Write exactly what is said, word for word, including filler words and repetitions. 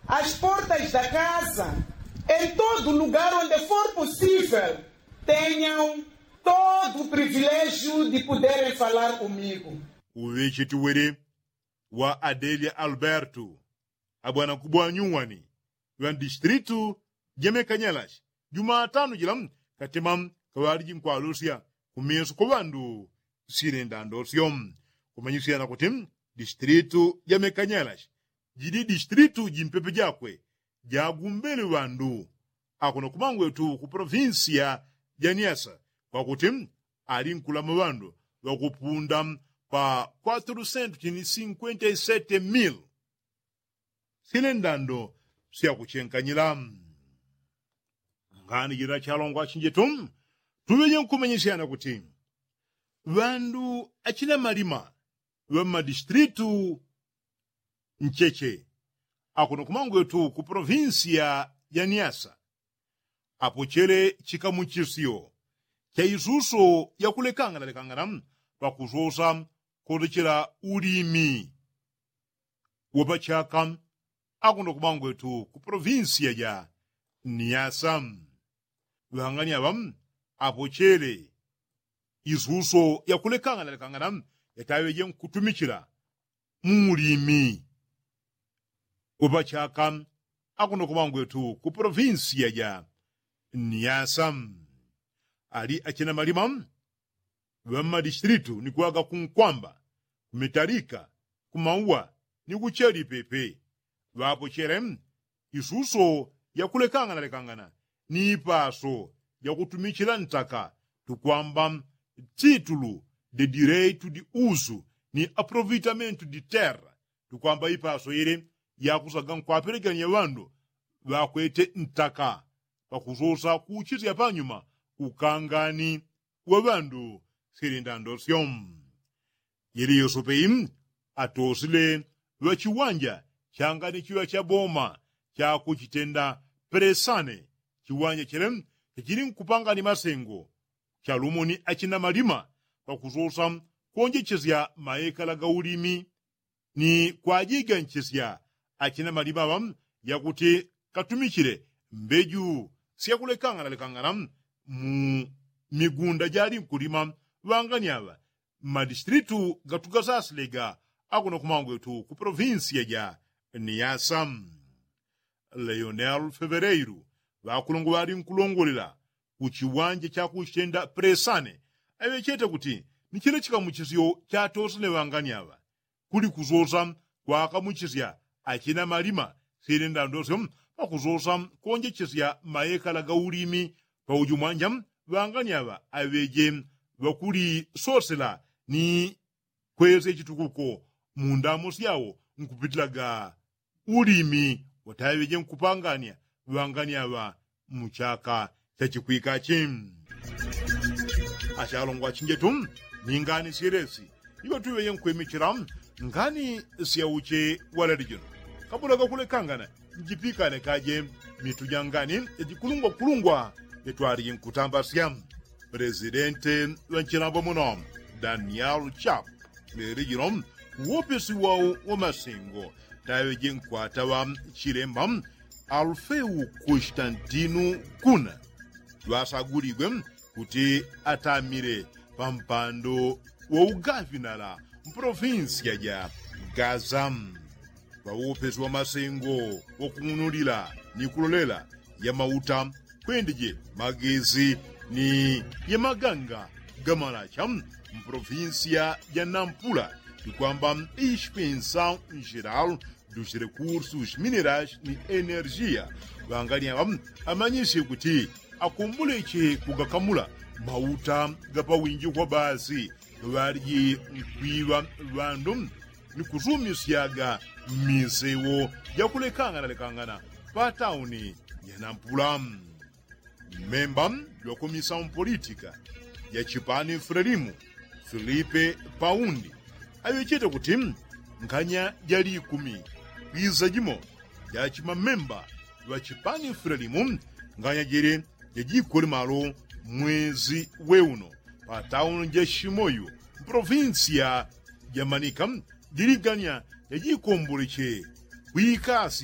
As portas da kaza em todo lugar onde for possível, tenham todo o privilégio de poderem falar comigo. Uŵecheti wele wa adelia alberto abwana kubwa nyuwani ŵa mdistritu ja mekanyalashi jumatano jila katima kaŵaliji nkwalusya kumeso kwa ŵandu silenda ndosyo. Kumanyisyana kuti distritu ja mekanyalashi jili distritu jimpepe jakwe jagumbele ŵandu akuno kumangwetu ku provinsiya ja niasa kwakuti ali nkulama ŵandu ŵakupunda pa kwatrusentu chini sinkwenta i sete mil. Sile ndando syakuchenkanyila ngani jila chalongwa chinjetu tuŵeje nkumenyesyana kuti ŵandu achina malima ŵa mmadistritu ncheche akuno kumangwetu ku provinsiya ja niasa apochele chikamuchisyo cha isuso yakulekangana lekangana pakusosa kotochela ulimi wapachaka akuno kumangwetu ku provinsiya ja niasa. Ŵangani aŵa apochele isuso yakulekangana lekangana yataŵeje nkutumichila mu ulimi wapachaka akuno kumangwetu ku provinsiya ja niasa. Ali achina malima ŵa mmadistritu ni kuŵaga kunkwamba kumitalika kumauwa ni kucheli pepe ŵapochele isuso yakulekangana lekangana ni ipaso yakutumichila ntaka tukwamba titulu de direitu di usu ni aproveitamentu di terra tukwamba ipaso ile yakusaga nkwapelegania ŵandu ŵakwete ntaka pakusosa kuchisya panyuma ukangani wa ŵandu silindandosyo. Yili yosope atosile ŵa chiwanja changani chiŵa cha boma chakuchitenda presane chiwanja chile chachili nkupangani masengo chalumo ni achina malima pakusosa kuonjechesya maekala ga ulimi ni kwajiganchisya achina malima ŵa yakuti katumichile mbeju syakulekangana lekangana mu migunda jali nkulima ŵangani aŵa mmadistritu gatugasasilega akuno kumangwetu ku provinsiya ja niasa. Leonel fevereiru ŵakulongo ŵali nkulongolela ku chiwanja chakuchitenda presane aŵechete kuti ni chila chikamuchisyo chatosene ŵangani aŵa kuli kusosa kwakamuchisya achina malima silenda ndosyo pakusosa kuonjechesya maekala ga ulimi pauju mwanja ŵangani aŵa aŵeje ŵakulisosela ni kwesya chitukuko mu ndamo syawo nkupitilaga ulimi wataŵeje nkupangania ŵangani aŵa mu chaka chachikwikachi. Achalongwa chinjetu ni ngani syelesi iŵatuŵeje nkwimichila ngani syauche walali jino kabula gakulekangana njipikane kaje mitu ja ngani yajikulungwakulungwa yatwalije nkutambasya. Presidente ŵa nchilambwa muno daniel chap leli jino uwopesi wau wa masengo taŵeje nkwata ŵa chilemba alufeu konstantinu kuna ŵasaguligwe kuti atamile pa mpando wa ugavinala mpolofinsiya ja gaza. Ŵaupesi wa masengo wakung'unulila ni kulolela ya mauta kwendeje magezi ni ya maganga ga malacha mpolofinsiya ja nampula ni kwamba ispensa njeral dusi rekursus mineras ni energia ŵangani aŵa amanyisye kuti akumbuleche kugakamula mauta ga pawinji kwa basi ŵaliji nkwiŵa ŵandu ni kusumisyaga mmisewo jakulekangana lekangana pa tauni ya nampula. Mmemba jwakomisa mpolitika ja chipani frelimu filipe paundi aŵechete kuti nganya ja likumi kwiza jimo ja chimamemba ŵa chipani frelimu nganya jele jajikole malo mwezi weuno pa tauni ja shimoyu mpolofinsiya ja manika jiliganya jajikomboleche kwikasi